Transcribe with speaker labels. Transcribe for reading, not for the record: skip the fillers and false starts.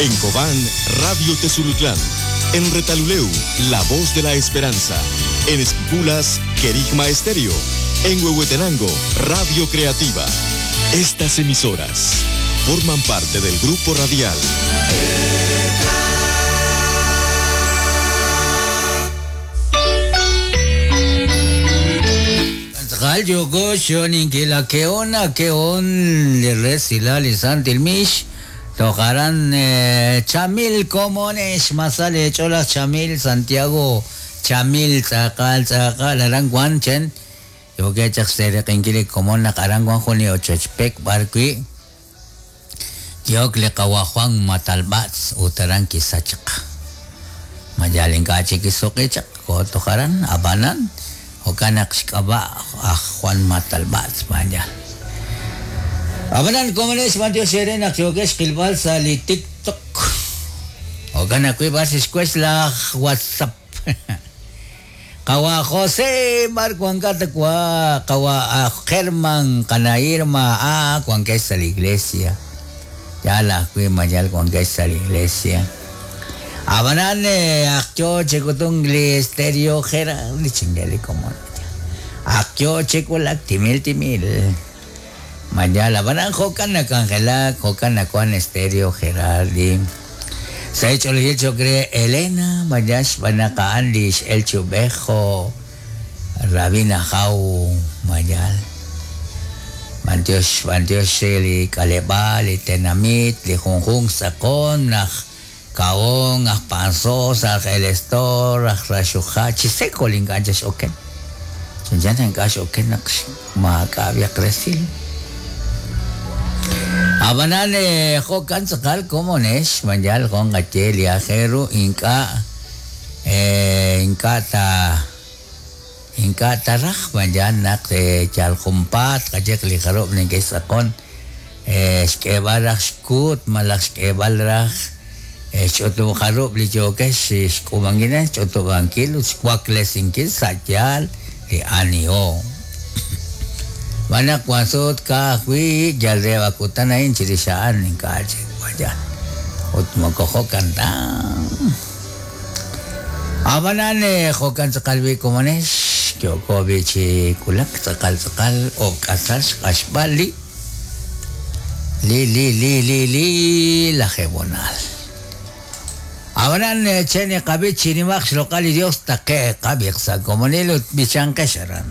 Speaker 1: En Cobán, Radio Tezulutlán. En Retaluleu, La Voz de la Esperanza. En Esquipulas, Querigma Estéreo. En Huehuetenango, Radio Creativa. Estas emisoras forman parte del grupo radial.
Speaker 2: Tz'aqal yooko xyo'oninkil a ke'on a ke'on li resilal li Santil Mix toj aran Chamil komonex masal eech'ool aj Chamil Santiago Chamil tz'aqal tz'aqal aran wan chen yookeb' chaq xseeraq'inkil li komon naq aran wan jun li ochoch pek b'ar wi' Ki'ok li qawa' Juan Matalb'atz ut aran kisach chaq. Ma yal ink'a' chik kisuq'i chaq, koho toj aran, ab'anan, jo'kan naq xk'ab'a' aj Juan Matalb'atz, ma yal. Ab'anan, komonex b'antiox eere naq yookex xqilb'al sa' li TikTok. Jo'kan ajwi' b'ar xixwex laj WhatsApp. Qawa' José, b'ar wankat wa? Qawa' aj German, qana' Irma, ah, wankex sa' li iglesia. Yaal ajwi' ma yal wankex sa' li iglesia. Ab'anan, ak yoo chi k'utunk li Stereo Gerard, li chingel li komon. Ak yoo chi wulak timil timil. Ma yaal, ab'anan jo'kan nak'anjelak, jo'kan nawank Stereo Gerardi. Sa' xch'oolejil cho'q re Elena, ma yaal xb'aan naq a'an li x'el chi ub'ej jo' Rabin Ajaw, ma yaal. B'antiox, b'antiox re li k'aleb'aal, li tenamit, li junjunq xtz'aqon, aj Kahon, aj Panzós, aj El Estor, aj Raxuja, chi seko li ink'a' chaq x'oken. Chanchan naq ink'a' x'oken naq maak'a' b'ayaq resil. Ab'anan jo'kan tz'aqal komonex, ma yal jo' nqaye li aajel ru ink'a' ink'a' ta ink'a' ta raj ma yal naq yal junpaat tqaye li jarub' neke'xtz'aqon. Xk'eeb'al raj xkuut malaj xk'eeb'al raj xch'utub' jarub' li yookex xk'uub'ankil re xch'utub'ankil ut xwaklesinkil sa' yaal li aniho. Xb'aan naq wan sut ka'ajwi' yal re a kutan a'in chirix a'an ink'a' chik wan ut moko jo'kan ta. Ab'anan jo'kan tz'aqal b'i' komonex, yooko b'i' chi wulak tz'aqal tz'aqal o'k'asal xq'axb'al li. Li li li li li lajeeb'onal. Ab'anan che niqab'i chi nimaq xloq'al li Dios taqe'q qab'iq sa' komonil ut b'ichanqex aran.